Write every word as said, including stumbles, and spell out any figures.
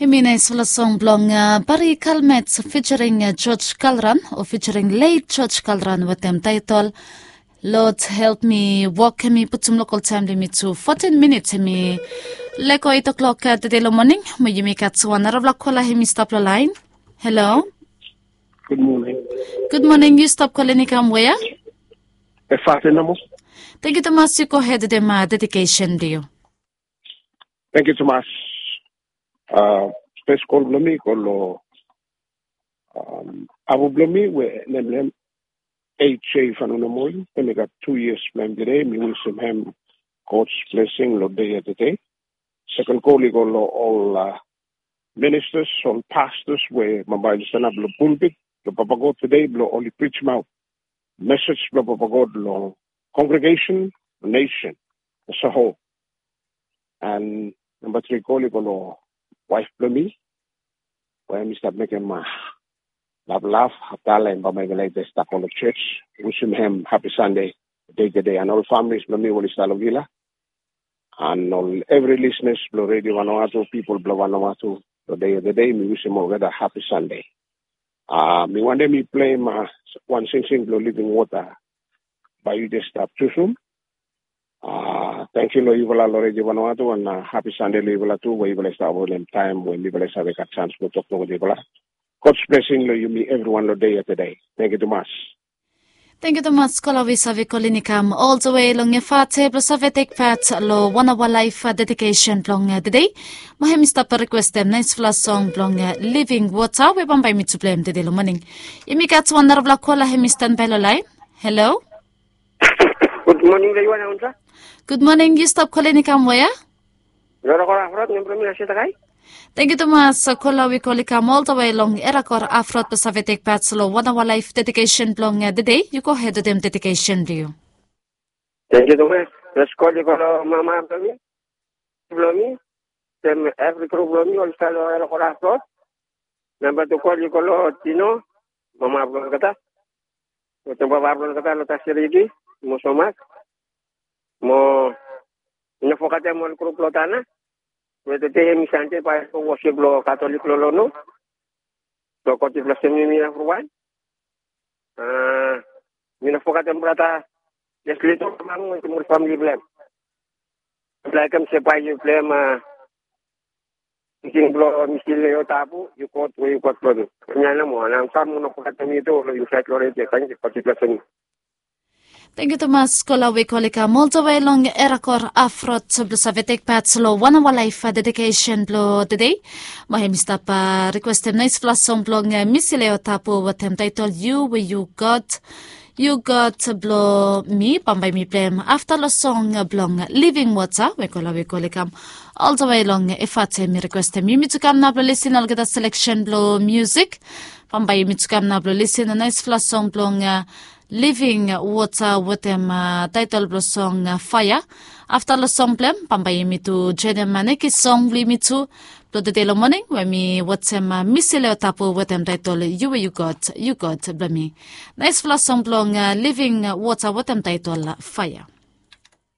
Hemi naisfala song blong Bari Kalmet fijering George Kalran o fijering leit George Kalran wetem taetol Lod Help Mi Wok. Hemi putum lokol taem blong yumi tu fotin minits, hemi lego eit oklok tede long moning. Mo yumi gat wan narafala kola hemi stap long laen. Halo. Gud moning. Yu stap kolen i kam wea? Efate nomo. Tengiu tumas, yu gohed wetem dedikesen blong yu. Tengiu tumas. Fes kol blong mi i go long abu blong mi we nem blong hem H J Fanunomoi, we mi gat tu yias blong hem tede. Mi wisim hem God's blessing long dei ya tede. Seken kol i go long ol ministas, ol pastas we bambae oli stanap long pulpit blong Papa God tede blong oli prijimaot mesej blong Papa God long kongregesen, nesen as a whole. And namba tri kol i go long waef blong mi we mi stap mekem laplap afta long hem bambae mi laik stap go long jos. Wisim hem hapi Sande dei tede and ol familis blong mi we oli stap long vila and ol evri lisnas blong Redio Vanuatu, pipol blong Vanuatu, long dei tede mi wisim olgeta hapi Sande. Mi wantem mi pleim wan singsing blong Living Water. Bae yu jes stap jusum. Tangkiu long yufala long Redio Vanuatu and hapi Sande long yufala tu we yufala i stap holem taem we mifala i save gat sans blong toktok wetem yufala. God's blessing long yumi evriwan long dei ya tede. Tangkiu tumas. Tangkiu tumas kola we yu save kolen i kam oltawe long Efate blong save tekpat long wan aoa laef dedikesen blong tede. Mo hem i stap rikwestem naesfala song blong Living Water we bambae mi tu pleim tede long moning. Yumi gat wan narafala kola hem i stanbae long laen. Halo. Gud moning long yu wan aunsa. Gud moning. Yu stap kolen i kam wea? Long Erakor Afrot, nem blong mi na Setakai. Tangkiu tumas kola we yu kol i kam oltawe long Erakor Afrot blong save tekpat long wan aoa laef dedikesen blong tede. Yu gohed wetem dedikesen blong yu. Tangkiu tumas. Fes kol i go long mama blong mi, blong mi, wetem evri gru blong mi oli stap long Erakor Afrot. Namba tu kol i go long Tino, mama blong olgeta, wetem papa blong olgeta long Tasiriki mo Somak. Mo mi no fogetem ol gru blong Tana we tede hemi Sande bae i go wosip long Katolik long Lono. So God i blesem yumi evriwan. Mi no fogetem brata Lesli tu, mama wetem ol famili blong hem. Blong hem se bae yu blong hem. Tingting blong mi stil long yu tabu, yu God we yu God blong mi. Hemia nomo, and mi kam, mi no fogetem yu tu long insaed long redio. Tangkiu, God i blesem yu. Tangkiu tumas kola we yu kol i kam oltawe long Erakor Afrot blong save tekpat long wan aoa laef dedikesen blong tede. Mo hem i stap rikwestem naesfala song blong Misileo Tabu wetem taetol Yu we yu God, yu God blong mi, bambae mi pleim afta long song blong Living Water we kola we yu kol i kam oltawe long Efate. Mi rikwestem yumi tu kam nao blong lisin olgeta seleksen blong miusik. Bambae yumi tu kam nao blong lisin naesfala song blong Living Water wetem taetol blong song Faea. Afta long song blong hem bambae yumi tu joenem nekis song blong yumi tu blong tede long moning we mi wetem Misileo Tabu wetem taetol Yu we yu God, yu God blong mi. Naesfala song blong Living Water wetem taetol Faea.